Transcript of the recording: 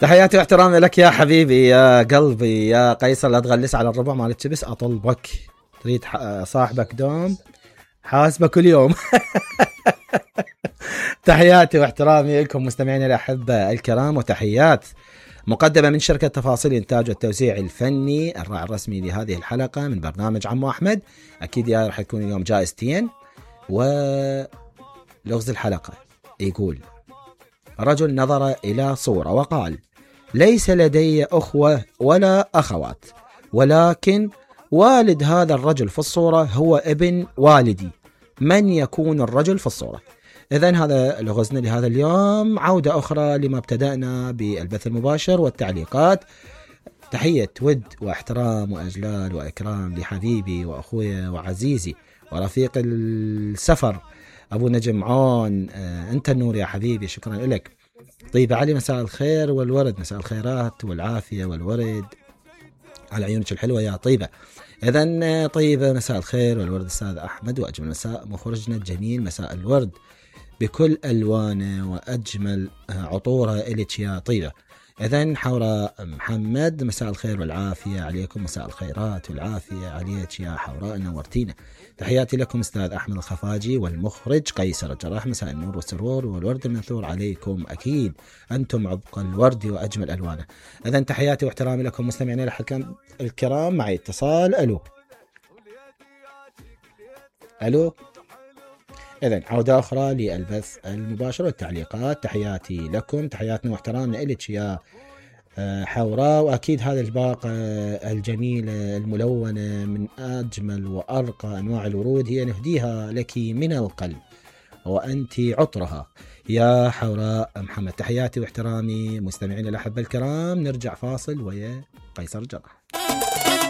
تحياتي واحترامي لك يا حبيبي يا قلبي يا قيصر. لا تغلس على الربع مال التبس اطلبك. تريد صاحبك دوم حاسبه كل يوم. تحياتي واحترامي لكم مستمعينا الأحبة الكرام، وتحيات مقدمة من شركة تفاصيل إنتاج والتوزيع الفني الراعي الرسمي لهذه الحلقة من برنامج عمو أحمد. أكيد يا رح يكون اليوم جائزتين. ولغز الحلقة يقول: رجل نظر إلى صورة وقال: ليس لدي أخوة ولا أخوات، ولكن والد هذا الرجل في الصورة هو ابن والدي. من يكون الرجل في الصورة؟ إذن هذا لغزنا لهذا اليوم. عودة أخرى لما ابتدأنا بالبث المباشر والتعليقات. تحية ود واحترام وأجلال وإكرام لحبيبي وأخويا وعزيزي ورفيق السفر أبو نجم عون. أنت النور يا حبيبي، شكرا لك. طيب علي، مساء الخير والورد، مساء الخيرات والعافية والورد على عيونك الحلوة يا طيبة. إذن طيبة، مساء الخير والورد أستاذ أحمد، وأجمل مساء مخرجنا الجميل مساء الورد بكل ألوانه وأجمل عطورة إليك يا طيبة. إذن حوراء محمد، مساء الخير والعافية عليكم، مساء الخيرات والعافية عليك يا حوراء، نورتينا. تحياتي لكم أستاذ أحمد الخفاجي والمخرج قيصر الجراح، مساء النور والسرور والورد المنثور عليكم. أكيد أنتم عبق الورد وأجمل ألوانه. إذن تحياتي واحترامي لكم مستمعينا الحكم الكرام. معي اتصال. ألو. إذن عودة أخرى للبث المباشر والتعليقات. تحياتي لكم، تحياتنا واحترامنا إليك يا حوراء. وأكيد هذا الباقة الجميلة الملونة من أجمل وأرقى أنواع الورود هي نهديها لك من القلب، وأنت عطرها يا حوراء محمد. تحياتي واحترامي مستمعين الأحبة الكرام. نرجع فاصل ويا قيصر الجراح.